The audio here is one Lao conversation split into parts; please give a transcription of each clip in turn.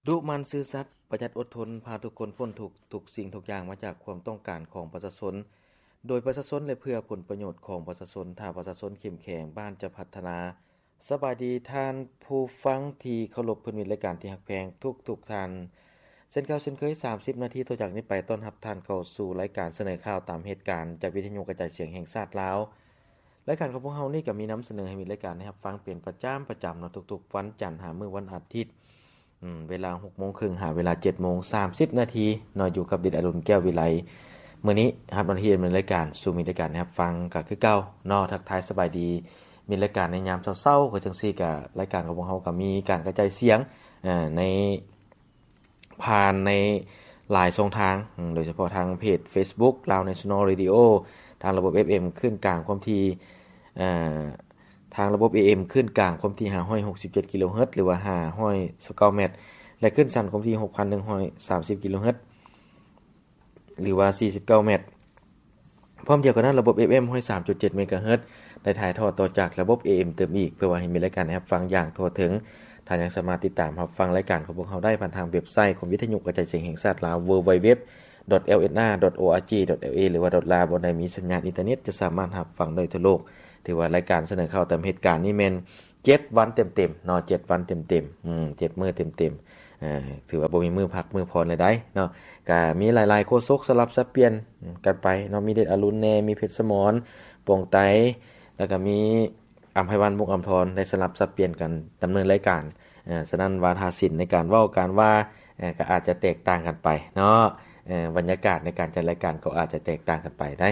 ດຸໝັ່ນຊື່ສັດ, ປະຢັດອົດທົນ, ພາທຸກຄົນພົ້ນທຸກ, ທຸກສິ່ງທຸກຢ່າງມາຈາກຄວາມຕ້ອງການຂອງປະຊາຊົນ, ໂດຍປະຊາຊົນ ແລະ ເພື່ອຜົນປະໂຫຍດຂອງປະຊາຊົນ. ຖ້າປະຊາຊົນເຂັ້ມແຂງ, ບ້ານຈະພັດທະນາ. ສະບາຍດີທ່ານຜູ້ຟັງທີ່ເຄົາລົບ, ເພື່ອນມິດລາຍການທີ່ຮັກແພງທຸກໆທ່ານ. ເຊັ່ນເກົ່າເຊັ່ນເຄີຍ, ສາມສິບນາທີຕໍ່ຈາກນີ້ໄປ ຕ້ອນຮັບທ່ານເຂົ້າສູ່ລາຍການສະເໜີຂ່າວຕາມເຫດການ ຈາກວິທະຍຸກະຈາຍສຽງແຫ່ງຊາດລາວ. ລາຍການຂອງພວກເຮົານີ້ກໍມີນຳສະເໜີໃຫ້ມິດລາຍການໄດ້ຮັບຟັງເປັນປະຈຳ, ປະຈຳເນາະ, ທຸກໆວັນຈັນຫາມື້ວັນອາທິດ, ອືມ, ເວລາຫົກໂມງເຄິ່ງຫາເວລາເຈັດໂມງສາມສິບນາທີເນາະ, ຢູ່ກັບດິດອະລຸນ ແກ້ວວິໄລ. ມື້ນີ້ຮັບໜ້າທີ່ດຳເນີນລາຍການສູ່ມິດລາຍການໄດ້ຮັບຟັງກໍຄືເກົ່າເນາະ. ທັກທາຍສະບາຍດີມິດລາຍການໃນຍາມເຊົ້າໆ ກໍຈັ່ງຊີ້, ກໍລາຍການຂອງພວກເຮົາກໍມີການກະຈາຍສຽງ, ເອີ, ໃນ ຜ່ານໃນຫຼາຍຊ່ອງທາງ, ໂດຍສະເພາະທາງເພຈເຟສບຸກ Lao National Radio, ທາງລະບົບເອັຟເອັມຄື້ນກາງຄວາມຖີ່, ເອີ, ທາງລະບົບເອເອັມຄື້ນກາງຄວາມຖີ່ຫ້າຮ້ອຍຫົກສິບເຈັດກິໂລເຮີດ ຫຼືວ່າຫ້າຮ້ອຍຊາວເກົ້າແມັດ, ແລະ ຄື້ນສັ້ນຄວາມຖີ່ຫົກພັນໜຶ່ງຮ້ອຍສາມສິບກິໂລເຮີດ ຫຼືວ່າສີ່ສິບເກົ້າແມັດ. ພ້ອມດຽວກັນນັ້ນ, ລະບົບເອັຟເອັມຮ້ອຍສາມຈຸດເຈັດເມກາເຮີດ ໄດ້ຖ່າຍທອດຕໍ່ຈາກລະບົບເອເອັມຕື່ມອີກ, ເພື່ອວ່າໃຫ້ມີລາຍການໃຫ້ຮັບຟັງຢ່າງທົ່ວເຖິງ. ທ່ານຍັງສາມາດຕິດຕາມຮັບຟັງລາຍການຂອງພວກເຮົາໄດ້ຜ່ານທາງເວັບໄຊຂອງວິທະຍຸກະຈາຍສຽງແຫ່ງຊາດລາວ www.lsna.org.la ຫຼືວ່າ .la ບ່ອນໃດມີສັນຍານອິນເຕີເນັດ ຈະສາມາດຮັບຟັງໄດ້ທົ່ວໂລກ. ຖືວ່າລາຍການສະເໜີຂ່າວຕາມເຫດການນີ້ແມ່ນ ເຈັດວັນເຕັມໆເນາະ, ເຈັດວັນເຕັມໆ, ອືມ, ເຈັດມື້ເຕັມໆ, ເອີ, ຖືວ່າບໍ່ມີມື້ພັກມື້ຜ່ອນເລີຍໃດ໋ເນາະ. ກະມີຫຼາຍໆໂຄສົກສະຫຼັບສັບປ່ຽນກັນໄປເນາະ, ມີເດດອະລຸນແດ່, ມີເພັດສະໝອນ ປອງໄຕ, ແລ້ວກະມີອຳໄພວັນ ມຸກອຳທອນ ໄດ້ສະຫຼັບສັບປ່ຽນກັນດຳເນີນລາຍການ. ເອີ, ສະນັ້ນ ວາທະສິນໃນການເວົ້າການວ່າ, ເອີ, ກໍອາດຈະແຕກຕ່າງກັນໄປເນາະ, ເອີ, ບັນຍາກາດໃນການຈັດລາຍການກໍອາດຈະແຕກຕ່າງກັນໄປໄດ໋.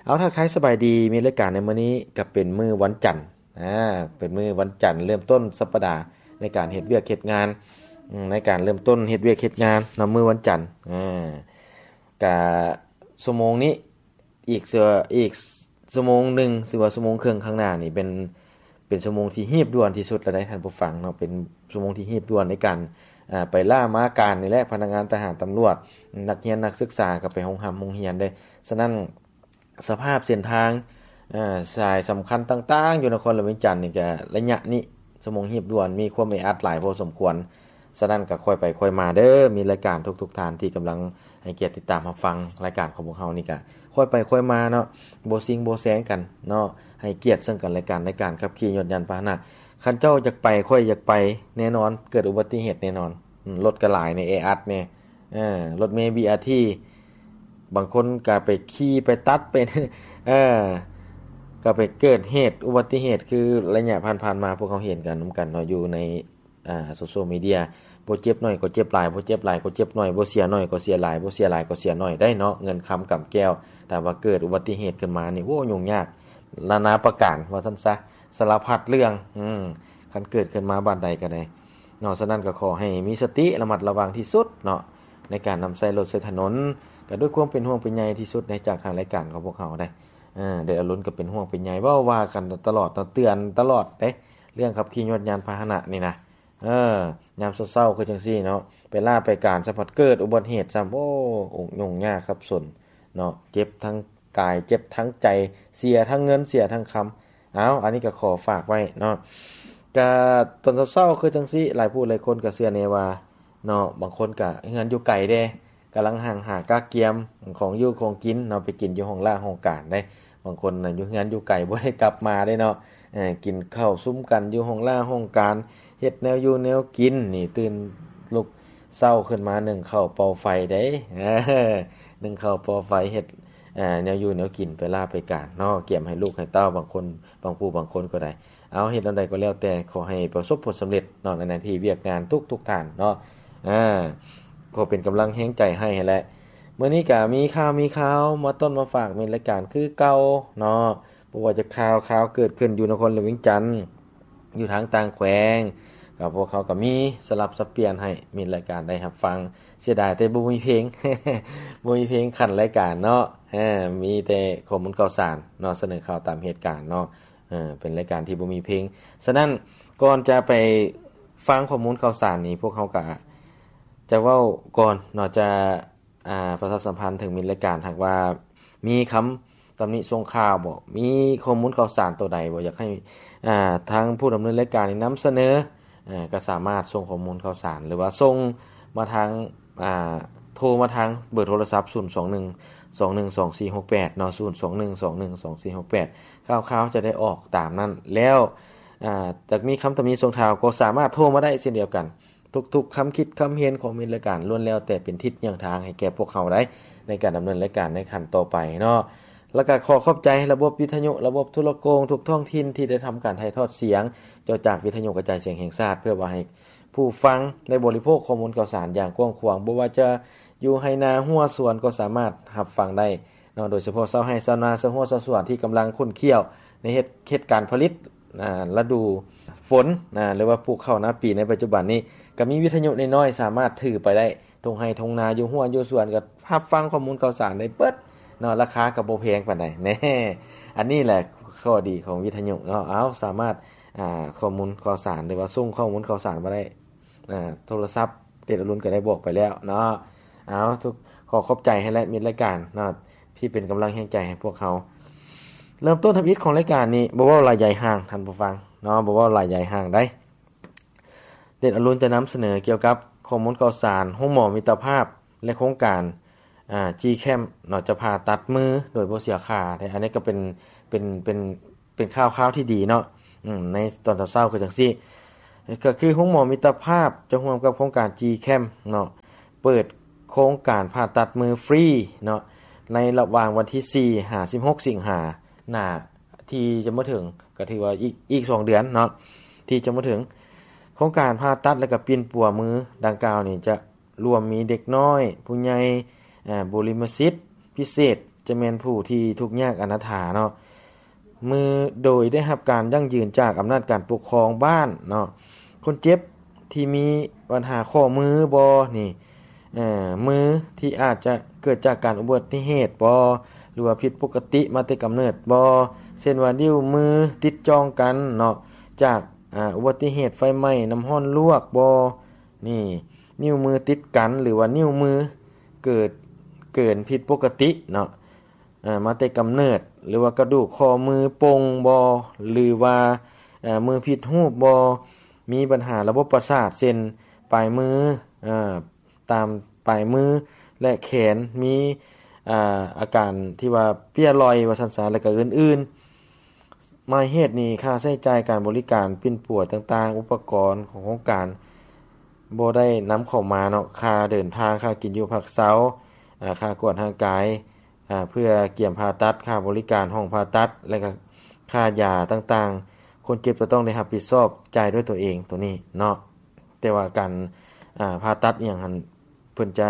ເອົາ, ທັກທາຍສະບາຍດີ, ມີລາຍການໃນມື້ນີ້ກໍເປັນມື້ວັນຈັນ ອາ ເປັນມື້ວັນຈັນເລີ່ມຕົ້ນສັບປະດາໃນການເຮັດວຽກເຮັດງານ, ອືມ, ໃນການເລີ່ມຕົ້ນເຮັດວຽກເຮັດງານເນາະ, ມື້ວັນຈັນ. ອາ ກະຊົ່ວໂມງນີ້ ອີກ ອີກຊົ່ວໂມງໜຶ່ງ ຫຼືວ່າຊົ່ວໂມງເຄິ່ງຂ້າງໜ້ານີ້ ເປັນ ເປັນຊົ່ວໂມງທີ່ຮີບດ່ວນທີ່ສຸດແລ້ວໃດ໋ທ່ານຜູ້ຟັງເນາະ, ເປັນຊົ່ວໂມງທີ່ຮີບດ່ວນໃນການ ອາ ໄປລາມາການນີ້ແຫຼະ. ພະນັກງານ, ທະຫານ, ຕຳຫຼວດ, ນັກຮຽນ, ນັກສຶກສາກໍໄປໂຮງຮ່ຳໂຮງຮຽນເດ້. ສະນັ້ນ ສະພາບເສັ້ນທາງ, ເອີ, ສາຍສຳຄັນຕ່າງໆ ຢູ່ນະຄອນຫຼວງວຽງຈັນນີ້ ກະໄລຍະນີ້ ຊົ່ວໂມງຮີບດ່ວນ ມີຄວາມແອອັດຫຼາຍພໍສົມຄວນ. ສະນັ້ນກະຄ່ອຍໄປຄ່ອຍມາເດີ, ມີລາຍການທຸກໆທ່ານທີ່ກຳລັງໃຫ້ກຽດຕິດຕາມຮັບຟັງລາຍການຂອງພວກເຮົານີ້ ກະຄ່ອຍໄປຄ່ອຍມາເນາະ, ບໍ່ຊິງບໍ່ແຊງກັນເນາະ, ໃຫ້ກຽດເຊິ່ງກັນແລະກັນໃນການຂັບຂີ່ຍົນຍານພາຫະນະ. ຄັນເຈົ້າຢາກໄປ, ຂ້ອຍຢາກໄປ, ແນ່ນອນເກີດອຸບັດຕິເຫດແນ່ນອນ. ອືມ, ລົດກະຫຼາຍແນ່, ແອອັດແນ່. ເອີ, ລົດເມ ບີອາທີ ບາງຄົນກໍໄປຂີ່ໄປຕັດໄປ ເອີ ກໍໄປເກີດເຫດອຸບັດຕິເຫດ ຄືໄລຍະຜ່ານໆມາ ພວກເຮົາເຫັນກັນນຳກັນເນາະ ຢູ່ໃນ ອາ ໂຊຊຽວມີເດຍ. ບໍ່ເຈັບໜ້ອຍກໍເຈັບຫຼາຍ, ບໍ່ເຈັບຫຼາຍກໍເຈັບໜ້ອຍ, ບໍ່ເສຍໜ້ອຍກໍເສຍຫຼາຍ, ບໍ່ເສຍຫຼາຍກໍເສຍໜ້ອຍໄດ້ເນາະ. ເງິນຄຳກຳແກ້ວ ຖ້າວ່າເກີດອຸບັດຕິເຫດຂຶ້ນມານີ້ ໂອ້ ຫຍຸ້ງຍາກນານາປະການ ວ່າຊັ້ນຊະ, ສາລະພັດເລື່ອງ. ອືມ ຄັນເກີດຂຶ້ນມາບ້ານໃດກໍໄດ້ເນາະ. ສະນັ້ນກໍຂໍໃຫ້ມີສະຕິ ລະມັດລະວັງທີ່ສຸດເນາະ ໃນການນຳໃຊ້ລົດໃຊ້ຖະໜົນ, ກໍດ້ວຍຄວາມເປັນຫ່ວງເປັນໃຍທີ່ສຸດໃນຈາກທາງລາຍການຂອງພວກເຮົາໄດ໋. ເອີ ເດດອາລຸນກໍເປັນຫ່ວງເປັນໃຍ ເວົ້າວ່າກັນຕະຫຼອດເນາະ, ເຕືອນຕະຫຼອດເດ້ ເລື່ອງຂັບຂີ່ຍົນຍານພາຫະນະນີ້ນະ. ເອີ ຍາມເຊົ້າໆຄືຈັ່ງຊີ້ເນາະ ໄປລາໄປການ ສະພັດເກີດອຸບັດເຫດຊ້ຳ ໂອ້ ຫຍຸ້ງຍາກສັບສົນເນາະ, ເຈັບທັງກາຍ ເຈັບທັງໃຈ ເສຍທັງເງິນ ເສຍທັງຄຳ. ເອົາ ອັນນີ້ກໍຂໍຝາກໄວ້ເນາະ. ກະຕອນເຊົ້າໆຄືຈັ່ງຊີ້ ຫຼາຍຜູ້ຫຼາຍຄົນກໍເຊື່ອແນ່ວ່າເນາະ ບາງຄົນກໍເຮືອນຢູ່ໄກເດ້ ກຳລັງຮັ່ງຫາກະກຽມຂອງຢູ່ຂອງກິນເນາະ ໄປກິນຢູ່ຫ້ອງລ່າຫ້ອງການເດ້. ບາງຄົນນະຢູ່ເຮືອນຢູ່ໄກ ບໍ່ໄດ້ກັບມາເດ້ເນາະ, ເອີ ກິນເຂົ້າຊຸມກັນຢູ່ຫ້ອງລ່າຫ້ອງການ ເຮັດແນວຢູ່ແນວກິນນີ້ ຕື່ນລຸກເຊົ້າຂຶ້ນມາ ໜຶ້ງເຂົ້າເປົ່າໄຟເດ້ ເອີ ໜຶ້ງເຂົ້າເປົ່າໄຟ ເຮັດ ເອີ ແນວຢູ່ແນວກິນໄປລາໄປການເນາະ, ກຽມໃຫ້ລູກໃຫ້ເຕົ້າ ບາງຄົນ ບາງຜູ້ບາງຄົນກໍໄດ້. ເອົາ ເຮັດແນວໃດກໍແລ້ວແຕ່ ຂໍໃຫ້ປະສົບຜົນສຳເລັດເນາະ ໃນໜ້າທີ່ວຽກງານທຸກໆທ່ານເນາະ. ເອີ ຂໍເປັນກຳລັງແຮງໃຈໃຫ້ຫັ້ນແຫຼະ. ມື້ນີ້ກະມີຂ່າວ ມີຂ່າວມາຕົ້ນມາຝາກມິດລາຍການຄືເກົ່າເນາະ. ບໍ່ວ່າຈະຂ່າວ ຂ່າວເກີດຂຶ້ນຢູ່ນະຄອນຫຼວງວຽງຈັນ ຢູ່ທາງຕ່າງແຂວງ ກໍພວກເຮົາກໍມີສະຫຼັບສັບປ່ຽນໃຫ້ມິດລາຍການໄດ້ຮັບຟັງ. ເສຍດາຍແຕ່ບໍ່ມີເພງ ບໍ່ມີເພງຂັ້ນລາຍການເນາະ. ເອີ ມີແຕ່ຂໍ້ມູນຂ່າວສານເນາະ ສະເໜີຂ່າວຕາມເຫດການເນາະ. ເອີ ເປັນລາຍການທີ່ບໍ່ມີເພງ. ສະນັ້ນ ກ່ອນຈະໄປຟັງຂໍ້ມູນຂ່າວສານນີ້ ພວກເຮົາກະຈະເວົ້າກ່ອນເນາະ ຈະ ອາ ປະຊາສຳພັນເຖິງມິດລາຍການ ຫາກວ່າມີຄຳຕຳໜິສົ່ງຂ່າວບໍ ມີຂໍ້ມູນຂ່າວສານໂຕໃດບໍ ຢາກໃຫ້ ອາ ທາງຜູ້ດຳເນີນລາຍການນີ້ນຳສະເໜີ ເອີ ກໍສາມາດສົ່ງຂໍ້ມູນຂ່າວສານ ຫຼືວ່າສົ່ງມາທາງ ອ່າ ໂທມາທາງເບີໂທລະສັບ ສູນສອງໜຶ່ງ ສອງໜຶ່ງ ສອງສີ່ຫົກແປດ ເນາະ ສູນສອງໜຶ່ງ ສອງໜຶ່ງ ສອງສີ່ຫົກແປດ ຂ່າວໆຈະໄດ້ອອກຕາມນັ້ນ. ແລ້ວ ອ່າ ຈະມີຄຳຕຳໜິຊົງທ້າວ ກໍສາມາດໂທມາໄດ້ເຊັ່ນດຽວກັນ. ທຸກໆຄຳຄິດຄຳເຫັນຂອງມິດລາຍການ ລ້ວນແລ້ວແຕ່ເປັນທິດຍ່າງທາງໃຫ້ແກ່ພວກເຮົາໄດ້ ໃນການດຳເນີນລາຍການໃນຂັ້ນຕໍ່ໄປເນາະ. ແລ້ວກໍຂໍຂອບໃຈລະບົບວິທະຍຸ ລະບົບໂທລະໂກງທຸກທ້ອງຖິ່ນທີ່ໄດ້ທຳການຖ່າຍທອດສຽງ ຈາກວິທະຍຸກະຈາຍສຽງແຫ່ງຊາດ ເພື່ອວ່າໃຫ້ຜູ້ຟັງໄດ້ບໍລິໂພກຂໍ້ມູນຂ່າວສານຢ່າງກວ້າງຂວາງ, ບໍ່ວ່າຈະຢູ່ໄຮ່ນາຮົ້ວສວນກໍສາມາດຮັບຟັງໄດ້ເນາະ, ໂດຍສະເພາະຊາວໄຮ່ຊາວນາ ຊາວຮົ້ວຊາວສວນທີ່ກຳລັງຂຸ້ນຂ້ຽວໃນເຮັດ ເຮັດການຜະລິດ ອ່າ ລະດູຝົນ ອ່າ ຫຼືວ່າປູກເຂົ້ານາປີໃນປັດຈຸບັນນີ້ ກໍມີວິທະຍຸນ້ອຍໆ ສາມາດຖືໄປໄດ້ ທົ່ງໄຮ່ທົ່ງນາ ຢູ່ຮົ້ວຢູ່ສວນ ກໍຮັບຟັງຂໍ້ມູນຂ່າວສານໄດ້ເບິດເນາະ, ລາຄາກໍບໍ່ແພງປານໃດ ແນ່. ອັນນີ້ແຫຼະຂໍ້ດີຂອງວິທະຍຸເນາະ, ເອົາ ສາມາດ ອ່າ ຂໍ້ມູນຂ່າວສານ ຫຼືວ່າສົ່ງຂໍ້ມູນຂ່າວສານມາໄດ້ ອ່າ ໂທລະສັບ ເດດອະລຸນກໍໄດ້ບອກໄປແລ້ວເນາະ. ເອົາ ທຸກ ຂໍຂອບໃຈໃຫ້ແລະມິດລາຍການເນາະ ທີ່ເປັນກຳລັງແຮງໃຈໃຫ້ພວກເຮົາ. ເລີ່ມຕົ້ນທຳອິດຂອງລາຍການນີ້ ບໍ່ເວົ້າຫຼາຍໃຫຍ່ຫ່າງ ທ່ານຜູ້ຟັງເນາະ, ບໍ່ເວົ້າຫຼາຍໃຫຍ່ຫ່າງໃດ. ເດດອະລຸນຈະນຳສະເໜີກ່ຽວກັບຂໍ້ມູນຂ່າວສານໂຮງໝໍມິດຕະພາບ ແລະ ໂຄງການ ອ່າ G-Cam ເນາະ ຈະຜ່າຕັດມືໂດຍບໍ່ເສຍຄ່າ. ອັນນີ້ກໍເປັນ ເປັນ ເປັນ ເປັນຂ່າວຄາວທີ່ດີເນາະ ອືມ ໃນຕອນເຊົ້າໆຄືຈັ່ງຊີ້ ກໍຄືໂຮງໝໍມິດຕະພາບຈະຮ່ວມກັບໂຄງການ G-Cam ເນາະ ເປີດໂຄງການຜ່າຕັດມືຟຣີເນາະ ໃນລະຫວ່າງວັນທີສີ່ຫາສິບຫົກສິງຫາ ໜ້າທີ່ຈະມາເຖິງ ກໍຖືວ່າອີກ ອີກສອງເດືອນເນາະ ທີ່ຈະມາເຖິງ. ໂຄງການຜ່າຕັດ ແລະ ກໍປິ່ນປົວມືດັ່ງກ່າວນີ້ ຈະລວມມີເດັກນ້ອຍ, ຜູ້ໃຫຍ່, ເອີ ບຸລິມະສິດພິເສດ ຈະແມ່ນຜູ້ທີ່ທຸກຍາກອະນາຖາເນາະ ມື ໂດຍໄດ້ຮັບການຢັ້ງຢືນຈາກອຳນາດການປົກຄອງບ້ານເນາະ. ຄົນເຈັບທີ່ມີບັນຫາຂໍ້ມືບໍນີ້ ເອີ ມືທີ່ອາດຈະເກີດຈາກການອຸບັດຕິເຫດບໍ ຫຼືວ່າຜິດປົກກະຕິມາແຕ່ກຳເນີດບໍ, ເຊັ່ນວ່ານິ້ວມືຕິດຈ່ອງກັນເນາະ ຈາກ ອາ ອຸບັດຕິເຫດໄຟໄໝ້ນ້ຳຮ້ອນລວກບໍ ນີ້ ນິ້ວມືຕິດກັນ ຫຼືວ່ານິ້ວມືເກີດ ເກີນຜິດປົກກະຕິເນາະ ເອີ ມາແຕ່ກຳເນີດ ຫຼືວ່າກະດູກຂໍ້ມືປົ່ງບໍ ຫຼືວ່າ ເອີ ມືຜິດຮູບບໍ ມີບັນຫາລະບົບປະສາດ ເຊັ່ນ ປາຍມື ເອີ ຕາມປາຍມື ແລະ ແຂນ ມີ ອາ ອາການທີ່ວ່າເປ່ຍລ່ອຍວ່າຊັ້ນຊະ ແລະ ກະອື່ນໆ. ໝາຍເຫດນີ້ ຄ່າໃຊ້ຈ່າຍການບໍລິການປິ່ນປົວຕ່າງໆ ອຸປະກອນຂອງໂຄງການບໍ່ໄດ້ນຳເຂົ້າມາເນາະ, ຄ່າເດີນທາງ, ຄ່າກິນຢູ່ພັກເຊົາ, ອາ ຄ່າກວດຮ່າງກາຍ ອາ ເພື່ອກຽມຜ່າຕັດ, ຄ່າບໍລິການຫ້ອງຜ່າຕັດ ແລະ ກະຄ່າຢາຕ່າງໆ ຄົນເຈັບຈະຕ້ອງໄດ້ຮັບຜິດຊອບຈ່າຍດ້ວຍຕົວເອງໂຕນີ້ເນາະ. ແຕ່ວ່າການ ອາ ຜ່າຕັດອີ່ຫຍັງຫັ້ນ ເພິ່ນຈະ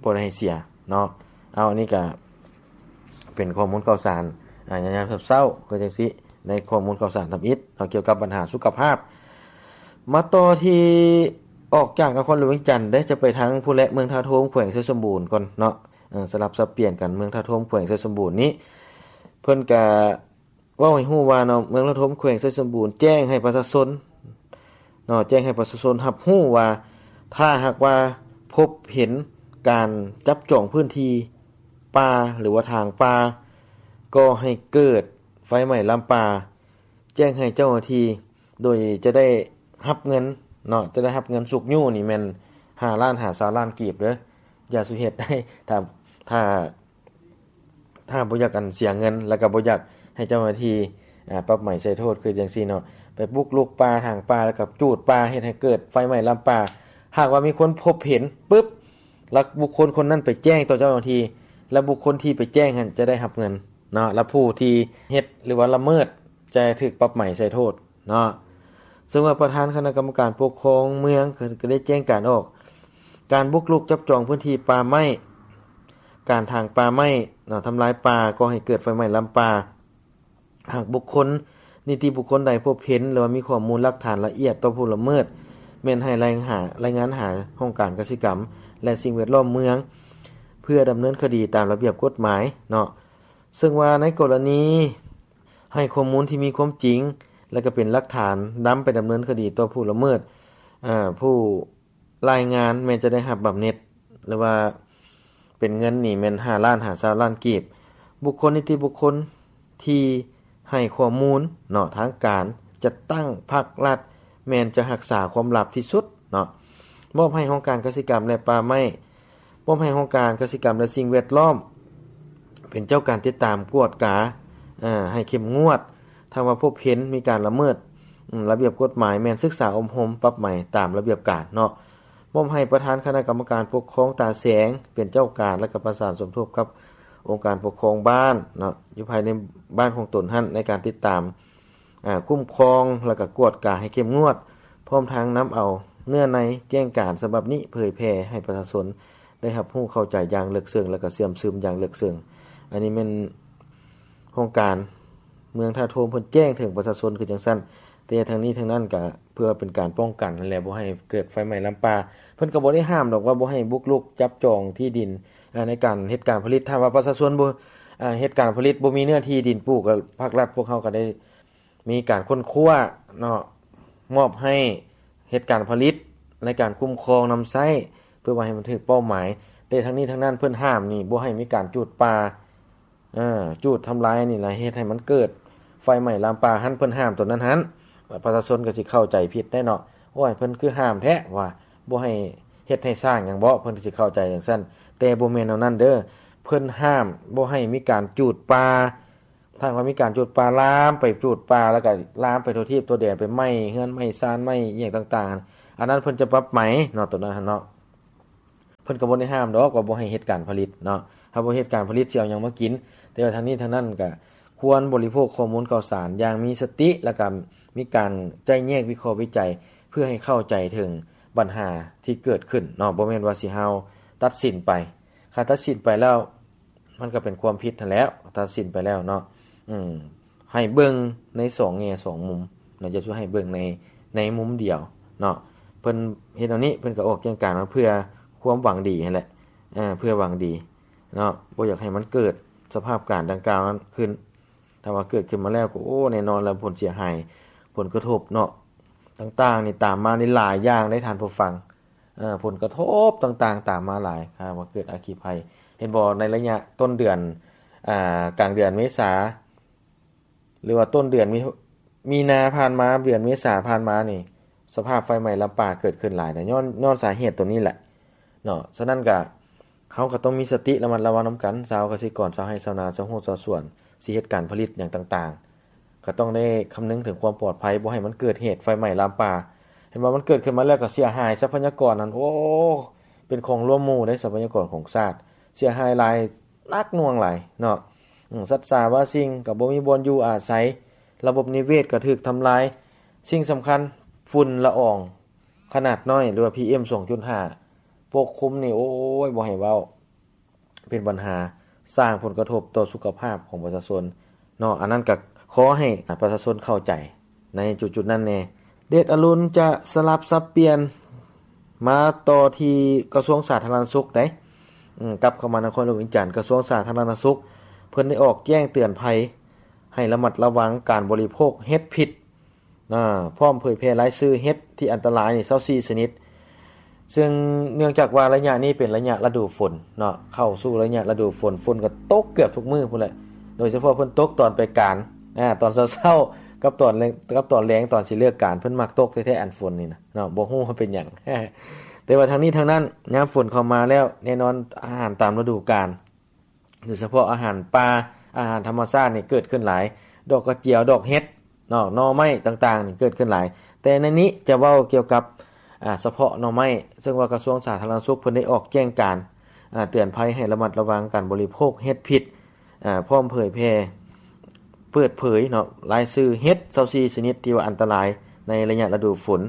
ບໍ່ໄດ້ໃຫ້ເສຍເນາະ. ເອົາ ອັນນີ້ກະເປັນຂໍ້ມູນຂ່າວສານ ອາ ຍາມເຊົ້າໆ ຄືຈັ່ງຊີ້ ໃນຂໍ້ມູນຂ່າວສານທຳອິດເນາະ ກ່ຽວກັບບັນຫາສຸຂະພາບ. ມາຕໍ່ທີ່ ອອກຈາກນະຄອນຫຼວງວຽງຈັນເດ້ ຈະໄປທາງພຸ້ນແຫຼະ ເມືອງທ່າໂທມ ແຂວງໄຊສົມບູນກ່ອນເນາະ. ເອີ ສະຫຼັບສັບປ່ຽນກັນ ເມືອງທ່າໂທມ ແຂວງໄຊສົມບູນນີ້ ເພິ່ນກະ ເວົ້າໃຫ້ຮູ້ວ່າເນາະ ເມືອງລະທົ່ມ ແຂວງໄຊສົມບູນ ແຈ້ງໃຫ້ປະຊາຊົນເນາະ ແຈ້ງໃຫ້ປະຊາຊົນຮັບຮູ້ວ່າ ຖ້າຫາກວ່າພົບເຫັນການຈັບຈອງພື້ນທີ່ປ່າ ຫຼືວ່າຖາງປ່າ ກໍໃຫ້ເກີດໄຟໄໝ້ລາມປ່າ ແຈ້ງໃຫ້ເຈົ້າໜ້າທີ່ ໂດຍຈະໄດ້ຮັບເງິນເນາະ ຈະໄດ້ຮັບເງິນຊຸກຍູ້ນີ້ແມ່ນຫ້າລ້ານຫາຊາວລ້ານກີບເດີ້. ຢ່າສູ່ເຮັດໄດ້ ຖ້າ ຖ້າ ຖ້າບໍ່ຢາກອັນເສຍເງິນ ແລ້ວກໍບໍ່ຢາກໃຫ້ເຈົ້າໜ້າທີ່ ອາ ປັບໃໝໃສ່ໂທດ ຄືຈັ່ງຊີ້ເນາະ ໄປບຸກລຸກປ່າ ຖາງປ່າ ແລ້ວກໍຈູດປ່າ ເຮັດໃຫ້ເກີດໄຟໄໝ້ລາມປ່າ. ຫາກວ່າມີຄົນພົບເຫັນປຶບ ແລ້ວບຸກຄົນຄົນນັ້ນໄປແຈ້ງຕໍ່ເຈົ້າໜ້າທີ່ ແລ້ວບຸກຄົນທີ່ໄປແຈ້ງຫັ້ນຈະໄດ້ຮັບເງິນເນາະ ແລ້ວຜູ້ທີ່ເຮັດ ຫຼືວ່າລະເມີດ ຈະຖືກປັບໃໝໃສ່ໂທດເນາະ. ເຊິ່ງວ່າປະທານຄະນະກຳມະການປົກຄອງເມືອງ ກໍ ກໍໄດ້ແຈ້ງການອອກ ການບຸກລຸກຈັບຈອງພື້ນທີ່ປ່າໄມ້ ການຖາງປ່າໄມ້ເນາະ ທຳລາຍປ່າ ກໍ່ໃຫ້ເກີດໄຟໄໝ້ລາມປ່າ. ຫາກບຸກຄົນ ນິຕິບຸກຄົນໃດພົບເຫັນ ຫຼືວ່າມີຂໍ້ມູນຫຼັກຖານລະອຽດຕໍ່ຜູ້ລະເມີດ ແມ່ນໃຫ້ລາຍຫາ ລາຍງານຫາຫ້ອງການກະສິກຳ ແລະ ສິ່ງແວດລ້ອມເມືອງ ເພື່ອດຳເນີນຄະດີຕາມລະບຽບກົດໝາຍເນາະ. ເຊິ່ງວ່າໃນກໍລະນີໃຫ້ຂໍ້ມູນທີ່ມີຄວາມຈິງ ແລະ ກໍເປັນຫຼັກຖານນຳໄປດຳເນີນຄະດີຕໍ່ຜູ້ລະເມີດ ເອີ ຜູ້ລາຍງານແມ່ນຈະໄດ້ຮັບບຳເໜັດ ຫຼືວ່າເປັນເງິນນີ້ແມ່ນຫ້າລ້ານຫາຊາວລ້ານກີບ. ບຸກຄົນ ນິຕິບຸກຄົນທີ່ໃຫ້ຂໍ້ມູນເນາະ ທາງການຈັດຕັ້ງພັກລັດ ແມ່ນຈະຮັກສາຄວາມລັບທີ່ສຸດເນາະ. ມອບໃຫ້ຫ້ອງການກະສິກຳ ແລະ ປ່າໄມ້, ມອບໃຫ້ຫ້ອງການກະສິກຳ ແລະ ສິ່ງແວດລ້ອມ ເປັນເຈົ້າການຕິດຕາມກວດກາ ເອີ ໃຫ້ເຂັ້ມງວດ. ຖ້າວ່າພົບເຫັນມີການລະເມີດ ອາ ລະບຽບກົດໝາຍ ແມ່ນສຶກສາອົບຮົມປັບໃໝຕາມລະບຽບການເນາະ. ມອບໃຫ້ປະທານຄະນະກຳມະການປົກຄອງຕາແສງເປັນເຈົ້າການ ແລະ ກໍປະສານສົມທົບກັບອົງການປົກຄອງບ້ານເນາະ ຢູ່ພາຍໃນບ້ານຂອງຕົນຫັ້ນ ໃນການຕິດຕາມ ອາ ຄຸ້ມຄອງ ແລະ ກໍກວດກາໃຫ້ເຂັ້ມງວດ, ພ້ອມທັງນຳເອົາເນື້ອໃນແຈ້ງການສະບັບນີ້ເຜີຍແຜ່ໃຫ້ປະຊາຊົນໄດ້ຮັບຮູ້ເຂົ້າໃຈຢ່າງເລິກເຊິ່ງ ແລະ ກໍເຊື່ອມຊຶມຢ່າງເລິກເຊິ່ງ. ອັນນີ້ແມ່ນຫ້ອງການເມືອງທ່າໂທມເພິ່ນແຈ້ງເຖິງປະຊາຊົນຄືຈັ່ງຊັ້ນ, ແຕ່ທັງນີ້ທັງນັ້ນກໍເພື່ອເປັນການປ້ອງກັນຫັ້ນແຫຼະ ບໍ່ໃຫ້ເກີດໄຟໄໝ້ລາມປ່າ. ເພິ່ນກໍບໍ່ໄດ້ຫ້າມດອກວ່າບໍ່ໃຫ້ບຸກລຸກຈັບຈອງທີ່ດິນ ອາ ໃນການເຮັດການຜະລິດ. ຖ້າວ່າປະຊາຊົນບໍ່ ອາ ເຮັດການຜະລິດ ບໍ່ມີເນື້ອທີ່ດິນປູກ ກໍພາກລັດພວກເຮົາກໍໄດ້ ມີການຄົ້ນຄວ້າເນາະ ມອບໃຫ້ເຮັດການຜະລິດ ໃນການຄຸ້ມຄອງນຳໃຊ້ ເພື່ອວ່າໃຫ້ມັນຖືກເປົ້າໝາຍ. ແຕ່ທັງນີ້ທັງນັ້ນເພິ່ນຫ້າມນີ້ ບໍ່ໃຫ້ມີການຈູດປ່າ ເອີ ຈູດທຳລາຍນີ້ລະ ເຮັດໃຫ້ມັນເກີດໄຟໄໝ້ລາມປ່າຫັ້ນ ເພິ່ນຫ້າມຕົວນັ້ນຫັ້ນ. ປະຊາຊົນກໍຊິເຂົ້າໃຈຜິດໄດ້ເນາະ ໂອ້ຍ ເພິ່ນຄືຫ້າມແທ້ວ່າ ບໍ່ໃຫ້ເຮັດໃຫ້ສ້າງຫຍັງບໍ ເພິ່ນກໍຊິເຂົ້າໃຈຈັ່ງຊັ້ນ. ແຕ່ບໍ່ແມ່ນແນວນັ້ນເດີ ເພິ່ນຫ້າມບໍ່ໃຫ້ມີການຈູດປ່າ ຖ້າວ່າມີການຈູດປ່າ ລາມໄປຈູດປ່າ ແລ້ວກໍລາມໄປທົ່ວທີບທົ່ວແດນ ໄປໄໝ້ເຮືອນໄໝ້ຊານ ໄໝ້ອີ່ຫຍັງຕ່າງໆ ອັນນັ້ນເພິ່ນຈະປັບໃໝເນາະ ຕົວນັ້ນຫັ້ນເນາະ. ເພິ່ນກໍບໍ່ໄດ້ຫ້າມດອກວ່າບໍ່ໃຫ້ເຮັດການຜະລິດເນາະ ຖ້າບໍ່ເຮັດການຜະລິດຊິເອົາຫຍັງມາກິນ. ແຕ່ວ່າທັງນີ້ທັງນັ້ນກໍຄວນບໍລິໂພກຂໍ້ມູນຂ່າວສານຢ່າງມີສະຕິ ແລ້ວກໍມີການໄຈ້ແຍກວິເຄາະວິໄຈ ເພື່ອໃຫ້ເຂົ້າໃຈເຖິງບັນຫາທີ່ເກີດຂຶ້ນເນາະ ບໍ່ແມ່ນວ່າຊິເຮົາຕັດສິນໄປ. ຖ້າຕັດສິນໄປແລ້ວ ມັນກໍເປັນຄວາມຜິດຫັ້ນແຫຼະ ຕັດສິນໄປແລ້ວເນາະ. ອືມ ໃຫ້ເບິ່ງໃນສອງແງ່ສອງມຸມເນາະ ຢ່າຊິໃຫ້ເບິ່ງໃນ ໃນມຸມດຽວເນາະ. ເພິ່ນເຮັດແນວນີ້ ເພິ່ນກໍອອກແຈ້ງການມາເພື່ອຄວາມຫວັງດີຫັ້ນແຫຼະ ເອີ ເພື່ອຫວັງດີເນາະ ບໍ່ຢາກໃຫ້ມັນເກີດສະພາບການດັ່ງກ່າວນັ້ນຂຶ້ນ. ຖ້າວ່າເກີດຂຶ້ນມາແລ້ວກໍ ໂອ້ ແນ່ນອນແລ້ວ ຜົນເສຍຫາຍ ຜົນກະທົບເນາະ ຕ່າງໆນີ້ຕາມມານີ້ຫຼາຍຢ່າງເດ້ທ່ານຜູ້ຟັງ. ເອີ ຜົນກະທົບຕ່າງໆຕາມມາຫຼາຍ ຖ້າວ່າເກີດອັກຄີໄພ. ເຫັນບໍ່ ໃນໄລຍະຕົ້ນເດືອນ ອາ ກາງເດືອນເມສາ ຫຼືວ່າຕົ້ນເດືອນມີ ມີນາຜ່ານມາ ເດືອນເມສາຜ່ານມານີ້ ສະພາບໄຟໄໝ້ລາມປ່າເກີດຂຶ້ນຫຼາຍນະ ຍ້ອນ ຍ້ອນສາເຫດຕົວນີ້ແຫຼະເນາະ. ສະນັ້ນກະ ເຮົາກໍຕ້ອງມີສະຕິລະມັດລະວັງນຳກັນ ຊາວກະສິກອນ ຊາວໄຮ່ຊາວນາ ຊາວໄຮ່ຊາວສວນ ຊິເຮັດການຜະລິດຫຍັງຕ່າງໆ ກໍຕ້ອງໄດ້ຄຳນຶງເຖິງຄວາມປອດໄພ ບໍ່ໃຫ້ມັນເກີດເຫດໄຟໄໝ້ລາມປ່າ. ເຫັນວ່າມັນເກີດຂຶ້ນມາແລ້ວກໍເສຍຫາຍຊັບພະຍາກອນຫັ້ນ ໂອ້ ເປັນຂອງລວມໝູ່ເດ້ ຊັບພະຍາກອນຂອງຊາດ ເສຍຫາຍຫຼາຍ ໜັກໜ່ວງຫຼາຍເນາະ. ອືມ ສັດສາວາສິ່ງກໍບໍ່ມີບ່ອນຢູ່ອາໄສ ລະບົບນິເວດກໍຖືກທຳລາຍ. ສິ່ງສຳຄັນ ຝຸ່ນລະອອງຂະໜາດນ້ອຍ ຫຼືວ່າ ພີເອັມ ສອງຈຸດຫ້າ ປົກຄຸມນີ້ ໂອ້ຍ ບໍ່ໃຫ້ເວົ້າ ເປັນບັນຫາ ສ້າງຜົນກະທົບຕໍ່ສຸຂະພາບຂອງປະຊາຊົນເນາະ. ອັນນັ້ນກໍຂໍໃຫ້ປະຊາຊົນເຂົ້າໃຈໃນຈຸດໆນັ້ນແດ່. ເດດອະລຸນຈະສະຫຼັບສັບປ່ຽນມາຕໍ່ທີ່ກະຊວງສາທາລະນະສຸກໄດ໋ ອືມ ກັບເຂົ້າມານະຄອນຫຼວງວຽງຈັນ ກະຊວງສາທາລະນະສຸກ ເພິ່ນໄດ້ອອກແຈ້ງເຕືອນໄພໃຫ້ລະມັດລະວັງການບໍລິໂພກເຫັດພິດ ອາ ພ້ອມເຜີຍແຜ່ລາຍຊື່ເຫັດທີ່ອັນຕະລາຍນີ້ ຊາວສີ່ຊະນິດ. ເຊິ່ງເນື່ອງຈາກວ່າໄລຍະນີ້ເປັນໄລຍະລະດູຝົນເນາະ ເຂົ້າສູ່ໄລຍະລະດູຝົນ ຝົນກໍຕົກເກືອບທຸກມື້ພຸ້ນແຫຼະ ໂດຍສະເພາະເພິ່ນຕົກຕອນໄປການ ອາ ຕອນເຊົ້າໆ ກັບຕອນແລງ ກັບຕອນແລງ ຕອນຊິເລີກການ ເພິ່ນມັກຕົກແທ້ໆ ອັນຝົນນີ້ນະເນາະ ບໍ່ຮູ້ວ່າເປັນຫຍັງ. ແຕ່ວ່າທັງນີ້ທັງນັ້ນ ຍາມຝົນເຂົ້າມາແລ້ວ ແນ່ນອນອາຫານຕາມລະດູການ ໂດຍສະເພາະອາຫານປ່າ ອາຫານທຳມະຊາດນີ້ເກີດຂຶ້ນຫຼາຍ ດອກກະຈຽວ ດອກເຫັດເນາະ ໜໍ່ໄມ້ຕ່າງໆນີ້ເກີດຂຶ້ນຫຼາຍ. ແຕ່ໃນນີ້ຈະເວົ້າກ່ຽວກັບ ອາ ສະເພາະໜໍ່ໄມ້ ເຊິ່ງວ່າກະຊວງສາທາລະນະສຸກເພິ່ນໄດ້ອອກແຈ້ງການ ອາ ເຕືອນໄພໃຫ້ລະມັດລະວັງການບໍລິໂພກເຫັດພິດ ອາ ພ້ອມເຜີຍແຜ່ ເປີດເຜີຍເນາະ ລາຍຊື່ເຫັດຊາວສີ່ຊະນິດທີ່ວ່າອັນຕະລາຍໃນໄລຍະລະດູຝົນ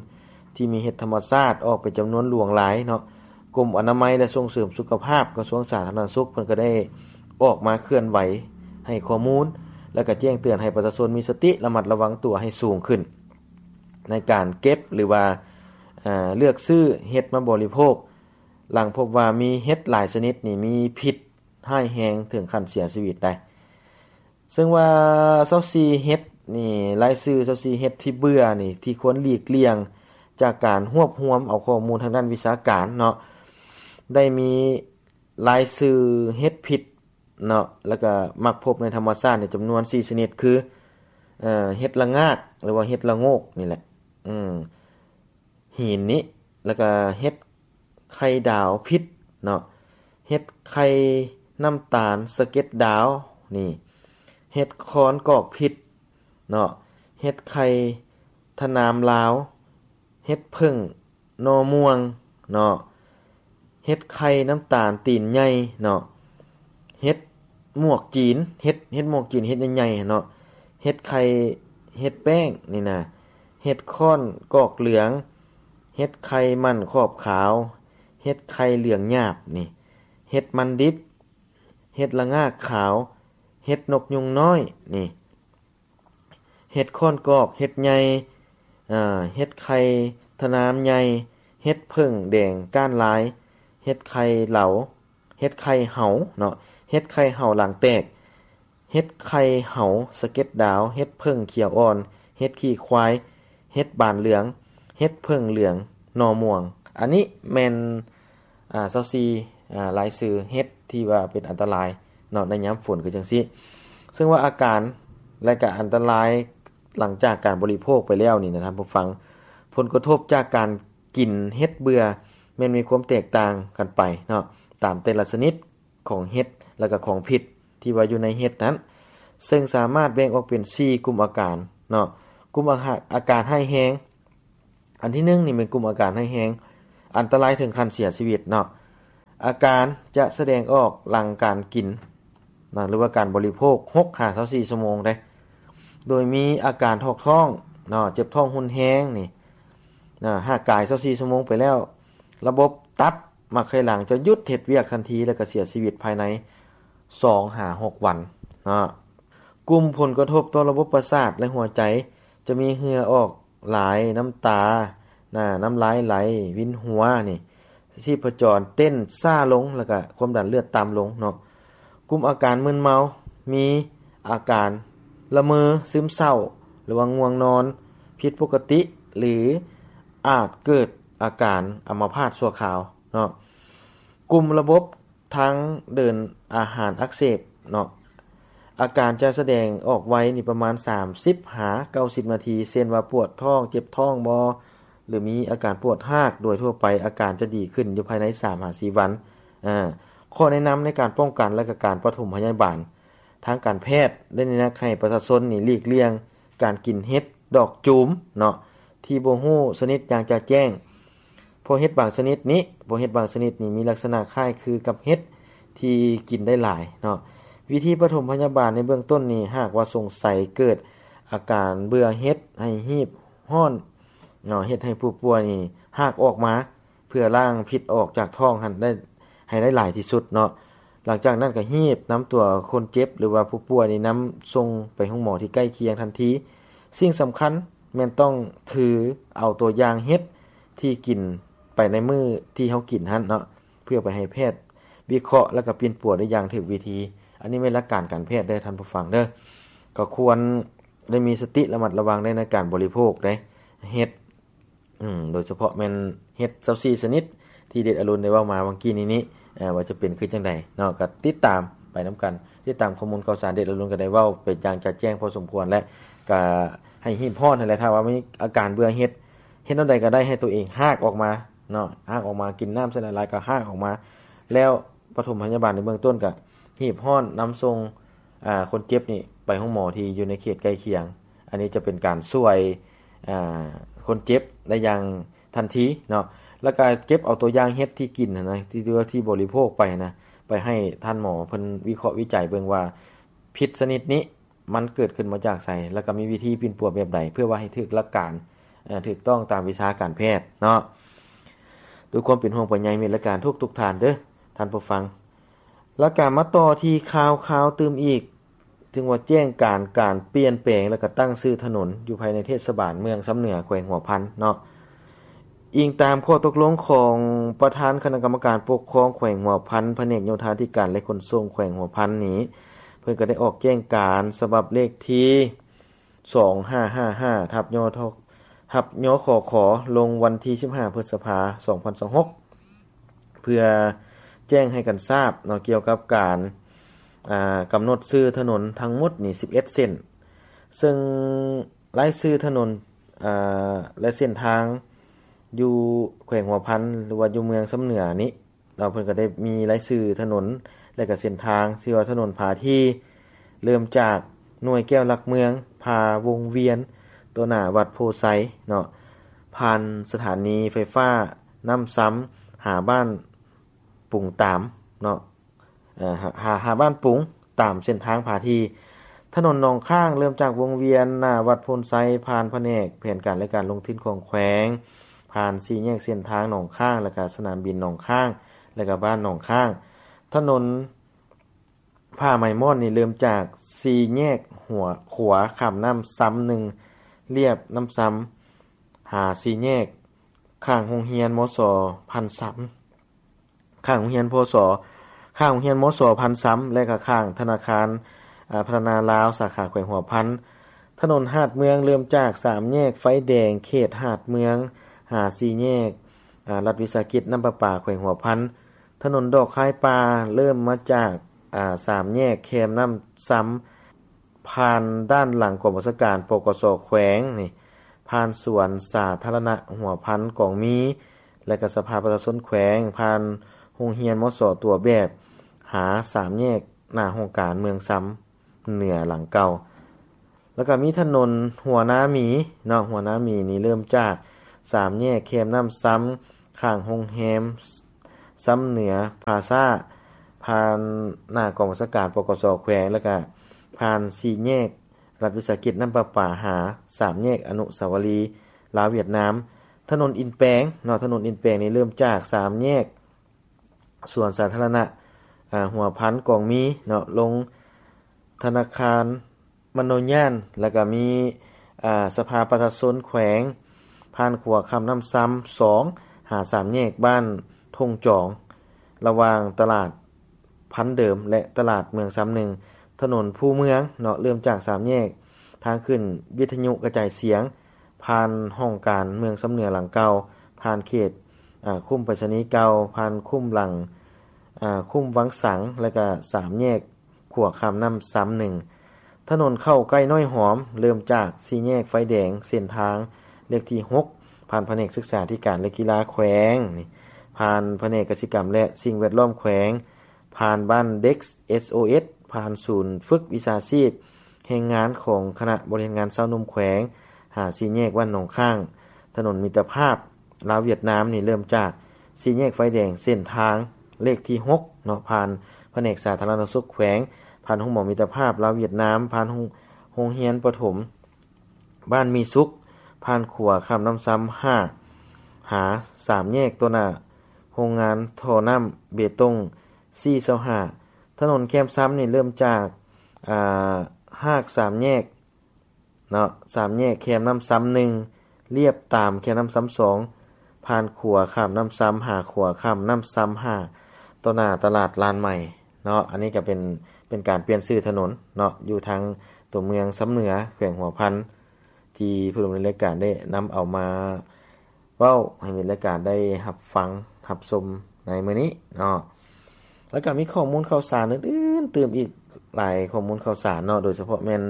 ທີ່ມີເຫັດທຳມະຊາດອອກເປັນຈຳນວນຫຼວງຫຼາຍເນາະ. ກົມອະນາໄມ ແລະ ສົ່ງເສີມສຸຂະພາບ ກະຊວງສາທາລະນະສຸກ ເພິ່ນກໍໄດ້ອອກມາເຄື່ອນໄຫວໃຫ້ຂໍ້ມູນ ແລະ ກໍແຈ້ງເຕືອນໃຫ້ປະຊາຊົນມີສະຕິລະມັດລະວັງຕົວໃຫ້ສູງຂຶ້ນ ໃນການເກັບ ຫຼືວ່າ ເອີ ເລືອກຊື້ເຫັດມາບໍລິໂພກ ຫຼັງພົບວ່າມີເຫັດຫຼາຍຊະນິດນີ້ມີພິດຮ້າຍແຮງເຖິງຂັ້ນເສຍຊີວິດໄດ້. ເຊິ່ງວ່າຊາວສີ່ເຫັດນີ້ ລາຍຊື່ຊາວສີ່ເຫັດທີ່ເບື່ອນີ້ ທີ່ຄວນຫຼີກລ່ຽງ ຈາກການຮວບຮວມເອົາຂໍ້ມູນທາງດ້ານວິຊາການເນາະ ໄດ້ມີລາຍຊື່ເຫັດພິດເນາະ ແລ້ວກະມັກພົບໃນທຳມະຊາດໃນຈຳນວນສີ່ຊະນິດ ຄື ເອີ ເຫັດລະງາກ ຫຼືວ່າເຫັດລະໂງກນີ້ແຫຼະ. ອືມ ຫີນນີ້ ແລ້ວກໍເຫັດໄຂ່ດາວພິດເນາະ, ເຫັດໄຂ່ນ້ຳຕານສະເກັດດາວນີ້, ເຫັດຄອນກອກພິດເນາະ, ເຫັດໄຂ່ທະນາມລາວ, ເຫັດເຜິ້ງໜໍ່ມ່ວງເນາະ, ເຫັດໄຂ່ນ້ຳຕານຕີນໃຫຍ່ເນາະ, ເຫັດໝວກຈີນ, ເຫັດ ເຫັດໝວກຈີນ ເຫັດໃຫຍ່ໆຫັ້ນເນາະ, ເຫັດໄຂ່ ເຫັດແປ້ງນີ້ນະ, ເຫັດຂ້ອນກອກເຫຼືອງ, ເຫັດໄຂ່ໝັ້ນຂອບຂາວ, ເຫັດໄຂ່ເຫຼືອງຫຍາບນີ້, ເຫັດມັນດິບ, ເຫັດລະງາກຂາວ, ເຫັດນົກຍຸງນ້ອຍນີ້, ເຫັດຂ້ອນກອກ ເຫັດໃຫຍ່, ເອີ ເຫັດໄຂ່ທະນາມໃຫຍ່, ເຫັດເຜິ້ງແດງກ້ານລາຍ, ເຫັດໄຂ່ເຫຼົາ, ເຫັດໄຂ່ເຫົາເນາະ, ເຫັດໄຂ່ເຫົາຫຼັງແຕກ, ເຫັດໄຂ່ເຫົາສະເກັດດາວ, ເຫັດເຜິ້ງຂຽວອ່ອນ, ເຫັດຂີ້ຄວາຍ, ເຫັດບານເຫຼືອງ, ເຫັດເຜິ້ງເຫຼືອງໜໍ່ມ່ວງ. ອັນນີ້ແມ່ນ ອາ ຊາວສີ່ ອາ ລາຍຊື່ເຫັດທີ່ວ່າເປັນອັນຕະລາຍເນາະ ໃນຍາມຝົນຄືຈັ່ງຊີ້. ເຊິ່ງວ່າອາການ ແລະ ກະອັນຕະລາຍຫຼັງຈາກການບໍລິໂພກໄປແລ້ວນີ້ນະທ່ານຜູ້ຟັງ, ຜົນກະທົບຈາກການກິນເຫັດເບື່ອແມ່ນມີຄວາມແຕກຕ່າງກັນໄປເນາະ ຕາມແຕ່ລະຊະນິດຂອງເຫັດ ແລະ ກະຂອງພິດທີ່ວ່າຢູ່ໃນເຫັດນັ້ນ, ເຊິ່ງສາມາດແບ່ງອອກເປັນສີ່ກຸ່ມອາການເນາະ. ກຸ່ມອາຫາ- ອາການຮ້າຍແຮງ ອັນທີໜຶ່ງນີ້ແມ່ນກຸ່ມອາການຮ້າຍແຮງ ອັນຕະລາຍເຖິງຂັ້ນເສຍຊີວິດເນາະ. ອາການຈະສະແດງອອກຫຼັງການກິນນະ ຫຼືວ່າການບໍລິໂພກ ຫົກຫາຊາວສີ່ຊົ່ວໂມງເດ້, ໂດຍມີອາການຖອກທ້ອງເນາະ, ເຈັບທ້ອງຮຸນແຮງນີ້ນະ. ຫາກກາຍຊາວສີ່ຊົ່ວໂມງໄປແລ້ວ ລະບົບຕັບໝາກໄຂ່ຫຼັງຈະຢຸດເຮັດວຽກທັນທີ ແລະ ກະເສຍຊີວິດພາຍໃນສອງຫາຫົກວັນເນາະ. ກຸ່ມຜົນກະທົບຕໍ່ລະບົບປະສາດ ແລະ ຫົວໃຈ ຈະມີເຫື່ອອອກຫຼາຍ, ນ້ຳຕານະ, ນ້ຳລາຍໄຫຼ, ວິນຫົວນີ້, ຊີບພະຈອນເຕັ້ນຊ້າລົງ ແລ້ວກະຄວາມດັນເລືອດຕ່ຳລົງເນາະ. ກຸ່ມອາການມຶນເມົາ ມີອາການລະເມີ, ຊຶມເສົ້າ ຫຼືວ່າງ່ວງນອນຜິດປົກກະຕິ ຫຼື ອາດເກີດອາການອຳມະພາດຊົ່ວຄາວເນາະ. ກຸ່ມລະບົບ ທາງເດີນອາຫານອັກເສບເນາະ, ອາການຈະສະແດງອອກໄວນີ້ປະມານສາມສິບຫາເກົ້າສິບນາທີ ເຊັ່ນວ່າປວດທ້ອງ, ເຈັບທ້ອງບໍ ຫຼື ມີອາການປວດຮາກ. ໂດຍທົ່ວໄປອາການຈະດີຂຶ້ນຢູ່ພາຍໃນສາມຫາສີ່ວັນ. ອາ ຂໍ້ແນະນຳໃນການປ້ອງກັນ ແລະ ກະການປະຖົມພະຍາບານທາງການແພດ ໄດ້ແນະນຳໃຫ້ປະຊາຊົນນີ້ຫຼີກລ່ຽງການກິນເຫັດ ດອກຈູມເນາະ ທີ່ບໍ່ຮູ້ຊະນິດຢ່າງຈະແຈ້ງ. ເພາະເຫັດບາງຊະນິດນີ້ ເພາະເຫັດບາງຊະນິດນີ້ມີລັກສະນະຄ້າຍຄືກັບເຫັດທີ່ກິນໄດ້ຫຼາຍເນາະ. ວິທີປະຖົມພະຍາບານໃນເບື້ອງຕົ້ນນີ້ ຫາກວ່າສົງໄສເກີດອາການເບື່ອເຫັດ ໃຫ້ຮີບຮ້ອນເນາະ, ເຮັດໃຫ້ຜູ້ປ່ວຍນີ້ຮາກອອກມາ ເພື່ອລ້າງພິດອອກຈາກທ້ອງຫັ້ນໄດ້ ໃຫ້ໄດ້ຫຼາຍທີ່ສຸດເນາະ. ຫຼັງຈາກນັ້ນກະຮີບນຳຕົວຄົນເຈັບ ຫຼືວ່າຜູ້ປ່ວຍນີ້ນຳສົ່ງໄປໂຮງໝໍທີ່ໃກ້ຄຽງທັນທີ. ສິ່ງສຳຄັນແມ່ນຕ້ອງຖືເອົາຕົວຢ່າງເຫັດທີ່ກິນໄປໃນມື້ທີ່ເຮົາກິນຫັ້ນເນາະ ເພື່ອໄປໃຫ້ແພດວິເຄາະ ແລ້ວກະປິ່ນປົວໄດ້ຢ່າງຖືກວິທີ. ອັນນີ້ແມ່ນຫຼັກການການແພດເດີທ່ານຜູ້ຟັງເດີ. ກໍຄວນໄດ້ມີສະຕິລະມັດລະວັງໃນ ໃນການບໍລິໂພກເດ້ ເຫັດ ອືມ ໂດຍສະເພາະແມ່ນເຫັດຊາວສີ່ຊະນິດທີ່ເດດອາລຸນໄດ້ເວົ້າມາຫວ່າງກີ້ນີ້ນີ້ ເອີ ວ່າຈະເປັນຄືຈັ່ງໃດເນາະ. ກໍຕິດຕາມໄປນຳກັນ, ຕິດຕາມຂໍ້ມູນຂ່າວສານ. ເດດອາລຸນກໍໄດ້ເວົ້າໄປຢ່າງຈະແຈ້ງພໍສົມຄວນ ແລະ ກໍໃຫ້ຮີບຮ້ອນຫັ້ນແຫຼະ. ຖ້າວ່າມີອາການເບື່ອເຫັດ ເຮັດແນວໃດກໍໄດ້ໃຫ້ຕົວເອງຮາກອອກມາເນາະ, ຮາກອອກມາ, ກິນນ້ຳໃສ່ຫຼາຍໆ ກໍຮາກອອກມາ ແລ້ວປະຖົມພະຍາບານໃນເບື້ອງຕົ້ນ ກໍຮີບຮ້ອນນຳສົ່ງ ອາ ຄົນເຈັບນີ້ໄປໂຮງໝໍທີ່ຢູ່ໃນເຂດໃກ້ຄຽງ. ອັນນີ້ຈະເປັນການຊ່ວຍ ອາ ຄົນເຈັບໄດ້ຢ່າງທັນທີເນາະ. ແລ້ວກະເກັບເອົາຕົວຢ່າງເຫັດທີ່ກິນຫັ້ນນະ ທີ່ ທີ່ບໍລິໂພກໄປຫັ້ນນະ ໄປໃຫ້ທ່ານໝໍເພິ່ນວິເຄາະວິໄຈເບິ່ງວ່າ ພິດຊະນິດນີ້ມັນເກີດຂຶ້ນມາຈາກໃສ ແລ້ວກະມີວິທີປິ່ນປົວແບບໃດ ເພື່ອວ່າໃຫ້ຖືກຫຼັກການ ເອີ ຖືກຕ້ອງຕາມວິຊາການແພດເນາະ. ດ້ວຍຄວາມເປັນຫ່ວງເປັນໃຍມິດ ແລະ ການທຸກໆທ່ານເດີທ່ານຜູ້ຟັງ. ແລ້ວກະມາຕໍ່ທີ່ຂ່າວ ຂ່າວຕື່ມອີກ ເຖິງວ່າແຈ້ງການ ການປ່ຽນແປງ ແລ້ວກະຕັ້ງຊື່ຖະໜົນຢູ່ພາຍໃນເທດສະບານເມືອງຊຳເໜືອ ແຂວງຫົວພັນເນາະ. ອີງຕາມຂໍ້ຕົກລົງຂອງປະທານຄະນະກຳມະການປົກຄອງແຂວງຫົວພັນ ພະແນກໂຍທາທິການ ແລະ ຂົນສົ່ງແຂວງຫົວພັນນີ້ ເພິ່ນກໍໄດ້ອອກແຈ້ງການສະບັບເລກທີ ສອງຫ້າຫ້າຫ້າ ທັບ ຍທ ທັບ ຍຂຂ ລົງວັນທີສິບຫ້າ ພຶດສະພາ ສອງພັນຊາວຫົກ ເພື່ອແຈ້ງໃຫ້ກັນຊາບເນາະ ກ່ຽວກັບການ ອາ ກຳນົດຊື່ຖະໜົນທັງໝົດນີ້ ສິບເອັດເສັ້ນ ເຊິ່ງລາຍຊື່ຖະໜົນ ອາ ແລະ ເສັ້ນທາງ ຢູ່ແຂວງຫົວພັນ ຫຼືວ່າຢູ່ເມືອງຊຳເໜືອນີ້ເນາະ ເພິ່ນກໍໄດ້ມີລາຍຊື່ຖະໜົນ ແລະກໍເສັ້ນທາງ ຊື່ວ່າຖະໜົນພາທີ ເລີ່ມຈາກໜ່ວຍແກ້ວຫຼັກເມືອງ ຜ່າວົງວຽນ ຕໍ່ໜ້າວັດໂພໄຊເນາະ ຜ່ານສະຖານີໄຟຟ້ານ້ຳຊຳ ຫາບ້ານປຸງຕາມເນາະ ເອີ ຫາ ຫາ ຫາບ້ານປຸງ ຕາມເສັ້ນທາງພາທີ. ຖະໜົນໜອງຄ້າງ ເລີ່ມຈາກວົງວຽນ ໜ້າວັດໂພນໄຊ ຜ່ານພະແນກແຜນການ ແລະ ການລົງທຶນຂອງແຂວງ ຜ່ານສີ່ແຍກເສັ້ນທາງໜອງຄ້າງ ແລະ ກະສະໜາມບິນໜອງຄ້າງ ແລະ ກະບ້ານໜອງຄ້າງ. ຖະໜົນ ຜາໄມ້ມ່ອນນີ້ເລີ່ມຈາກສີ່ແຍກຫົວ ຂົວຂ້າມນ້ຳຊຳໜຶ່ງ ລຽບນ້ຳຊຳ ຫາສີ່ແຍກຂ້າງໂຮງຮຽນ ມສ ພັນຊຳ ຂ້າງໂຮງຮຽນ ພສ ຂ້າງໂຮງຮຽນ ມສ ພັນຊຳ ແລະ ກະຂ້າງທະນາຄານ ອາ ພັດທະນາລາວ ສາຂາແຂວງຫົວພັນ. ຖະໜົນຫາດເມືອງ ເລີ່ມຈາກສາມແຍກໄຟແດງເຂດຫາດເມືອງ ຫາສີ່ແຍກ ອາ ລັດວິສາຫະກິດນ້ຳປະປາແຂວງຫົວພັນ. ຖະໜົນດອກຄາຍປ່າ ເລີ່ມມາຈາກ ອາ ສາມແຍກແຄມນ້ຳຊຳ ຜ່ານດ້ານຫຼັງກອງບັນຊາການ ປກສ ແຂວງນີ້ ຜ່ານສວນສາທາລະນະຫົວພັນກອງມີ ແລະ ກະສະພາປະຊາຊົນແຂວງ ຜ່ານໂຮງຮຽນ ມສ ຕົວແບບ ຫາສາມແຍກໜ້າຫ້ອງການເມືອງຊຳເໜືອຫຼັງເກົ່າ. ແລ້ວກະມີຖະໜົນຫົວນາໝີເນາະ ຫົວນາໝີນີ້ເລີ່ມຈາກສາມແຍກແຄມນ້ຳຊຳ ຂ້າງໂຮງແຮມຊຳເໜືອພລາຊາ ຜ່ານໜ້າກອງບັນຊາການ ປກສ ແຂວງ ແລ້ວກະຜ່ານສີ່ແຍກລັດວິສາຫະກິດນ້ຳປະປາ ຫາສາມແຍກອະນຸສາວະລີລາວຫວຽດນາມ. ຖະໜົນອິນແປງເນາະ ຖະໜົນອິນແປງນີ້ເລີ່ມຈາກສາມແຍກ ສວນສາທາລະນະ ອາ ຫົວພັນກອງມີເນາະ ລົງທະນາຄານມະໂນຍານ ແລ້ວກະມີ ອາ ສະພາປະຊາຊົນແຂວງ ຜ່ານຂົວຂ້າມນ້ຳຊຳສອງ ຫາສາມແຍກບ້ານທົ່ງຈອງ ລະຫວ່າງຕະຫຼາດພັນເດີມ ແລະ ຕະຫຼາດເມືອງຊຳໜຶ່ງ. ຖະໜົນພູເມືອງເນາະ ເລີ່ມຈາກສາມແຍກທາງຂຶ້ນວິທະຍຸກະຈາຍສຽງ ຜ່ານຫ້ອງການເມືອງຊຳເໜືອຫຼັງເກົ່າ ຜ່ານເຂດ ອາ ຄຸ້ມໄປສະນີເກົ່າ ຜ່ານຄຸ້ມຫຼັງ ອາ ຄຸ້ມວັງສັງ ແລະກະສາມແຍກຂົວຂ້າມນ້ຳຊຳໜຶ່ງ. ຖະໜົນເຂົ້າໃກ້ນ້ອຍຫອມ ເລີ່ມຈາກສີ່ແຍກໄຟແດງເສັ້ນທາງເລກທີຫົກ ຜ່ານພະແນກສຶກສາທິການ ແລະ ກິລາແຂວງນີ້ ຜ່ານພະແນກກະສິກຳ ແລະ ສິ່ງແວດລ້ອມແຂວງ ຜ່ານບ້ານເດັກ ເອສໂອເອສ ຜ່ານສູນຝຶກວິຊາຊີບແຮງງານຂອງຄະນະບໍລິຫານງານຊາວໜຸ່ມແຂວງ ຫາສີ່ແຍກບ້ານໜອງຄ້າງ. ຖະໜົນມິດຕະພາບລາວຫວຽດນາມນີ້ເລີ່ມຈາກສີ່ແຍກໄຟແດງເສັ້ນທາງເລກທີຫົກເນາະ ຜ່ານພະແນກສາທາລະນະສຸກແຂວງ ຜ່ານໂຮງໝໍມິດຕະພາບລາວຫວຽດນາມ ຜ່ານໂຮງ ໂຮງຮຽນປະຖົມບ້ານມີສຸກ ຜ່ານຂົວຂ້າມນ້ຳຊຳຫ້າ ຫາສາມແຍກຕໍ່ໜ້າໂຮງງານທໍ່ນ້ຳເບຕົງ ສີ່ຊາວຫ້າ. ຖະໜົນແຄມຊຳນີ້ເລີ່ມຈາກ ອາ ຮາກສາມແຍກເນາະ ສາມແຍກແຄມນ້ຳຊຳໜຶ່ງ ລຽບຕາມແຄມນ້ຳຊຳສອງ ຜ່ານຂົວຂ້າມນ້ຳຊຳ ຫາຂົວຂ້າມນ້ຳຊຳຫ້າ ຕໍ່ໜ້າຕະຫຼາດລານໃໝ່ເນາະ. ອັນນີ້ກະເປັນ ເປັນການປ່ຽນຊື່ຖະໜົນເນາະ ຢູ່ທາງຕົວເມືອງຊຳເໜືອ ແຂວງຫົວພັນ ທີ່ຜູ້ດຳເນີນລາຍການໄດ້ນຳເອົາມາ ເວົ້າໃຫ້ແຟນລາຍການໄດ້ຮັບຟັງຮັບຊົມໃນມື້ນີ້ເນາະ. ແລ້ວກະມີຂໍ້ມູນຂ່າວສານອື່ນໆຕື່ມອີກຫຼາຍຂໍ້ມູນຂ່າວສານເນາະ ໂດຍສະເພາະແມ່ນ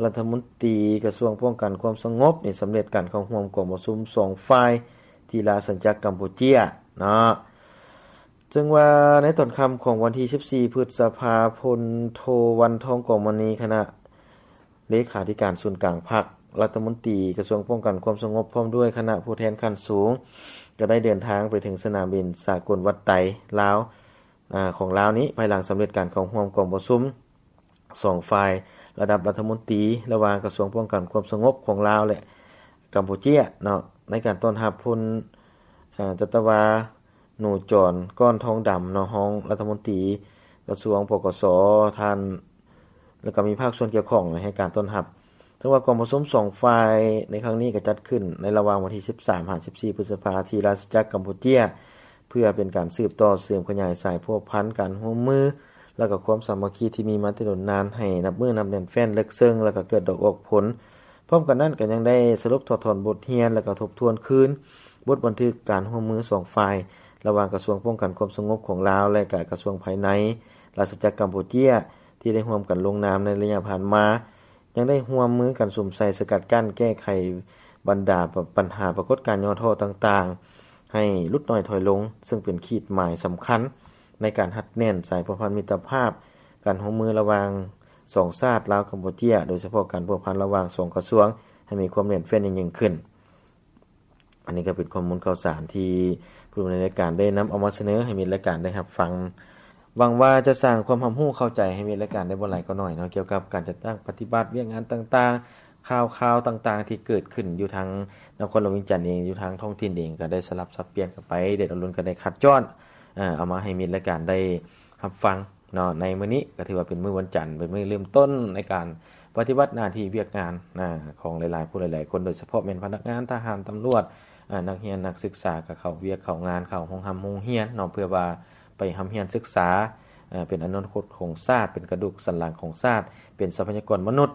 ລັດຖະມົນຕີກະຊວງປ້ອງກັນຄວາມສະຫງົບນີ້ ສຳເລັດການເຂົ້າຮ່ວມກອງປະຊຸມສອງຝ່າຍທີ່ລາຊະອານາຈັກກຳປູເຈຍເນາະ. ເຊິ່ງວ່າໃນຕອນຄ່ຳຂອງວັນທີສິບສີ່ ພຶດສະພາ ພົນໂທ ວັນທອງ ກອງມະນີ ຄະນະ ເລຂາທິການສູນກາງພັກ, ລັດຖະມົນຕີກະຊວງປ້ອງກັນຄວາມສະຫງົບ ພ້ອມດ້ວຍຄະນະຜູ້ແທນຂັ້ນສູງ ກໍໄດ້ເດີນທາງໄປເຖິງສະໜາມບິນສາກົນວັດໄຕລາວ ອາ ຂອງລາວນີ້ ພາຍຫຼັງສຳເລັດການເຂົ້າຮ່ວມກອງປະຊຸມສອງຝ່າຍລະດັບລັດຖະມົນຕີ ລະຫວ່າງກະຊວງປ້ອງກັນຄວາມສະຫງົບຂອງລາວ ແລະ ກຳປູເຈຍເນາະ ໃນການຕ້ອນຮັບພົນ ອາ ຈັດຕະວາ ໜູຈອນ ກ້ອນທອງດຳເນາະ ຮອງລັດຖະມົນຕີກະຊວງ ປກສ ທ່ານ ແລ້ວກໍມີພາກສ່ວນກ່ຽວຂ້ອງໃຫ້ການຕ້ອນຮັບ. ເຖິງວ່າກອງປະຊຸມສອງຝ່າຍໃນຄັ້ງນີ້ກໍຈັດຂຶ້ນໃນລະຫວ່າງວັນທີສິບສາມຫາສິບສີ່ ພຶດສະພາ ທີ່ລາຊະອານາຈັກກຳປູເຈຍ ເພື່ອເປັນການສືບຕໍ່ເສີມຂະຫຍາຍສາຍພົວພັນການຮ່ວມມື ແລ້ວກໍຄວາມສາມັກຄີທີ່ມີມາແຕ່ດົນນານໃຫ້ນັບມື້ນັບແໜ້ນແຟ້ນເລິກເຊິ່ງ ແລ້ວກໍເກີດດອກອອກຜົນ. ພ້ອມກັນນັ້ນກໍຍັງໄດ້ສະຫຼຸບຖອດຖອນບົດຮຽນ ແລະກໍທົບທວນຄືນບົດບັນທຶກການຮ່ວມມືສອງຝ່າຍ ລະຫວ່າງກະຊວງປ້ອງກັນຄວາມສະຫງົບຂອງລາວ ແລະກະກະຊວງພາຍໃນລາຊະອານາຈັກກຳປູເຈຍ ທີ່ໄດ້ຮ່ວມກັນລົງນາມໃນໄລຍະຜ່ານມາ, ຍັງໄດ້ຮ່ວມມືກັນສຸມໃສ່ສະກັດກັ້ນແກ້ໄຂ ບັນດາປະ ບັນຫາປາກົດການຫຍໍ້ທໍ້ຕ່າງໆ ໃຫ້ຫຼຸດນ້ອຍຖອຍລົງ, ເຊິ່ງເປັນຂີດໝາຍສຳຄັນໃນການຮັດແໜ້ນສາຍພົວພັນມິດຕະພາບ, ການຮ່ວມມືລະຫວ່າງສອງຊາດ ລາວ-ກຳປູເຈຍ, ໂດຍສະເພາະການພົວພັນລະຫວ່າງສອງກະຊວງ ໃຫ້ມີຄວາມແໜ້ນແຟ້ນຍິ່ງຂຶ້ນ. ອັນນີ້ກໍເປັນຂໍ້ມູນຂ່າວສານທີ່ຜູ້ດຳເນີນລາຍການໄດ້ນຳເອົາມາສະເໜີໃຫ້ມິດລາຍການໄດ້ຮັບຟັງ. ຫວັງວ່າຈະສ້າງຄວາມຮັບຮູ້ເຂົ້າໃຈໃຫ້ມິດລາຍການໄດ້ບໍ່ຫຼາຍກໍໜ້ອຍເນາະ, ກ່ຽວກັບການຈັດຕັ້ງປະຕິບັດວຽກງານຕ່າງໆ, ຂ່າວໆຕ່າງໆທີ່ເກີດຂຶ້ນຢູ່ທາງນະຄອນຫຼວງວຽງຈັນເອງ, ຢູ່ທາງທ້ອງຖິ່ນເອງ ກໍໄດ້ສະຫຼັບສັບປ່ຽນກັນໄປ, ເດດອາລຸນກໍໄດ້ຄັດຈ້ອນ ເອົາມາໃຫ້ມິດລາຍການໄດ້ຮັບຟັງເນາະ. ໃນມື້ນີ້ກໍຖືວ່າເປັນມື້ວັນຈັນ, ເປັນມື້ເລີ່ມຕົ້ນໃນການປະຕິບັດໜ້າທີ່ວຽກງານ ອາ ຂອງຫຼາຍໆຜູ້ຫຼາຍໆຄົນ, ໂດຍສະເພາະແມ່ນພະນັກງານ, ທະຫານ, ຕຳຫຼວດ, ອາ ນັກຮຽນ, ນັກສຶກສາ ກໍເຂົ້າວຽກເຂົ້າງານ, ເຂົ້າໂຮງຮ່ຳໂຮງຮຽນເນາະ, ເພື່ອວ່າໄປຮ່ຳຮຽນສຶກສາ, ເປັນອະນາຄົດຂອງຊາດ, ເປັນກະດູກສັນຫຼັງຂອງຊາດ, ເປັນຊັບພະຍາກອນມະນຸດ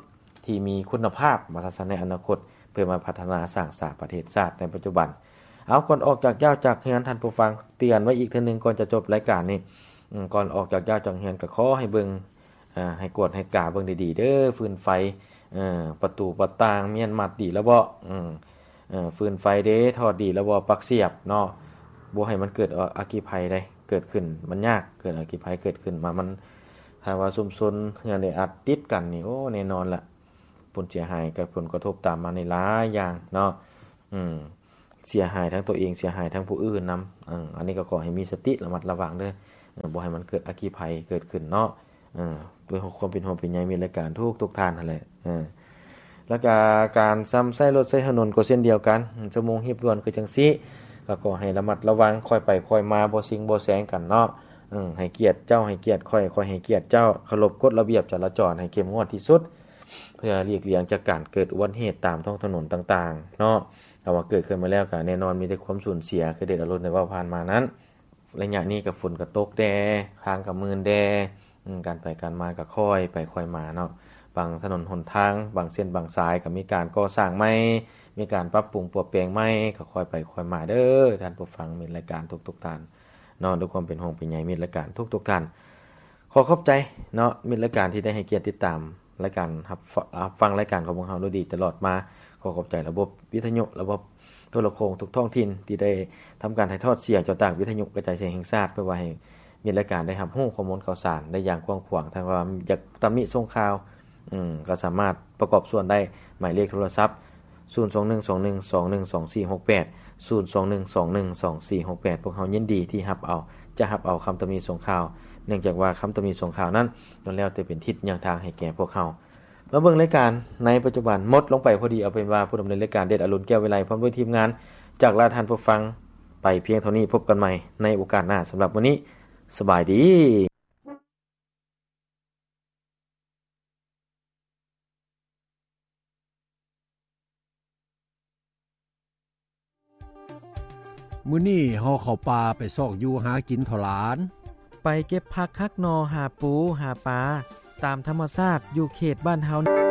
ທີ່ມີຄຸນນະພາບ ວ່າຊັ້ນຊະ ໃນອະນາຄົດ, ເພື່ອມາພັດທະນາສ້າງສາປະເທດຊາດໃນປັດຈຸບັນ. ເອົາ, ກ່ອນອອກຈາກຢ້າວຈາກເຮືອນ, ທ່ານຜູ້ຟັງ, ເຕືອນໄວ້ອີກເທື່ອໜຶ່ງ ກ່ອນຈະຈົບລາຍການນີ້, ອືມ, ກ່ອນອອກຈາກຢ້າວຈາກເຮືອນ ກໍຂໍໃຫ້ເບິ່ງ, ເອີ, ໃຫ້ກວດໃຫ້ກາເບິ່ງດີໆເດີ້, ຟືນໄຟ, ເອີ, ປະຕູປະຕ່າງມ້ຽນມັດດີແລ້ວບໍ່? ອືມ, ເອີ, ຟືນໄຟເດ້, ຖອດດີແລ້ວບໍ່? ປັກສຽບເນາະ, ບໍ່ໃຫ້ມັນເກີດອັກຄີໄພໄດ໋ ເກີດຂຶ້ນ, ມັນຍາກເກີດອັກຄີໄພເກີດຂຶ້ນມາ. ມັນ ຖ້າວ່າຊຸມຊົນເຮືອນແອອັດຕິດກັນນີ້, ໂອ້, ແນ່ນອນລະ, ຜົນເສຍຫາຍກັບຜົນກະທົບຕາມມານີ້ຫຼາຍຢ່າງເນາະ. ອືມ, ເສຍຫາຍທັງຕົວເອງ, ເສຍຫາຍທັງຜູ້ອື່ນນຳ. ເອີ, ອັນນີ້ກໍຂໍໃຫ້ມີສະຕິ, ລະມັດລະວັງເດີ້, ເອີ, ບໍ່ໃຫ້ມັນເກີດອັກຄີໄພເກີດຂຶ້ນເນາະ. ເອີ, ດ້ວຍຄວາມເປັນຫ່ວງເປັນໃຍມິດລາຍການທຸກໆທ່ານຫັ້ນແຫຼະ. ເອີ, ແລ້ວກະການຊຳໃຊ້ລົດໃຊ້ຖະໜົນກໍເຊັ່ນດຽວກັນ, ຊົ່ວໂມງຮີບດ່ວນຄືຈັ່ງຊີ້, ກໍຂໍໃຫ້ລະມັດລະວັງ, ຄ່ອຍໄປຄ່ອຍມາ, ບໍ່ຊິງບໍ່ແຊງກັນເນາະ. ເອີ, ໃຫ້ກຽດເຈົ້າ, ໃຫ້ກຽດຂ້ອຍ, ຂ້ອຍໃຫ້ກຽດເຈົ້າ, ເຄົາລົບກົດລະບຽບຈະລາຈອນໃຫ້ເຂັ້ມງວດທີ່ສຸດ, ເພື່ອຫຼີກລ່ຽງຈາກການເກີດອຸບັດເຫດຕາມທ້ອງຖະໜົນຕ່າງໆເນາະ. ຖ້າວ່າເກີດຂຶ້ນມາແລ້ວກໍແນ່ນອນມີແຕ່ຄວາມສູນເສຍ ຄືເດດອາລຸນໄດ້ເວົ້າຜ່ານມານັ້ນ. ໄລຍະນີ້ກໍຝົນກໍຕົກແດ່, ທາງກໍມື່ນແດ່, ອືມ, ການໄປການມາກໍຄ່ອຍໄປຄ່ອຍມາເນາະ. ບາງຖະໜົນຫົນທາງ, ບາງເສັ້ນບາງສາຍກໍມີການກໍ່ສ້າງໃໝ່, ມີການປັບປຸງປົວແປງໃໝ່, ກໍຄ່ອຍໄປຄ່ອຍມາເດີ້ ທ່ານຜູ້ຟັງມິດລາຍການທຸກໆທ່ານເນາະ, ດ້ວຍຄວາມເປັນຫ່ວງເປັນໃຍມິດລາຍການທຸກໆທ່ານ. ຂໍຂອບໃຈເນາະ ມິດລາຍການທີ່ໄດ້ໃຫ້ກຽດຕິດຕາມລາຍການ ຮັບ ຮັບຟັງລາຍການຂອງພວກເຮົາໂດຍດີຕະຫຼອດມາ. ຂໍຂອບໃຈລະບົບວິທະຍຸ, ລະບົບໂທລະໂຄ່ງທຸກທ້ອງຖິ່ນທີ່ໄດ້ທຳການຖ່າຍທອດສຽງຈາກວິທະຍຸກະຈາຍສຽງແຫ່ງຊາດ, ເພື່ອວ່າໃຫ້ມິດລາຍການໄດ້ຮັບຮູ້ຂໍ້ມູນຂ່າວສານໄດ້ຢ່າງກວ້າງຂວາງ. ຖ້າວ່າຢາກຕຳໜິສົ່ງຂ່າວ, ອືມ, ກໍສາມາດປະກອບສ່ວນໄດ້. ໝາຍເລກໂທລະສັບ ສູນສອງໜຶ່ງສອງໜຶ່ງສອງໜຶ່ງສອງສີ່ຫົກແປດ ສູນສອງໜຶ່ງສອງໜຶ່ງສອງສີ່ຫົກແປດ ພວກເຮົາຍິນດີທີ່ຮັບເອົາ, ຈະຮັບເອົາຄຳຕຳໜິສົ່ງຂ່າວ, ເນື່ອງຈາກວ່າຄຳຕຳໜິສົ່ງຂ່າວນັ້ນ ລ້ວນແລ້ວແຕ່ເປັນທິດຍ່າງທາງໃຫ້ແກ່ພວກເຮົາ. ມາເບິ່ງລາຍການໃນປັດຈຸບັນໝົດລົງໄປພໍດີ, ເອົາເປັນວ່າຜູ້ດຳເນີນລາຍການ ເດດອາລຸນ ແກ້ວວິໄລ ພ້ອມດ້ວຍທີມງານ ຈາກລາທ່ານຜູ້ຟັງໄປພຽງເທົ່ານີ້. ພົບກັນໃໝ່ໃນໂອກາດໜ້າ. ສຳລັບມື້ນີ້ ສະບາຍດີ. ມື້ນີ້ເຮົາເຂົ້າປ່າໄປຊອກຢູ່ຫາກິນທໍ່ຫຼານ, ໄປເກັບຜັກຫັກໜໍ່ ຫາປູ ຫາປາ ຕາມທຳມະຊາດຢູ່ເຂດບ້ານເຮົາ.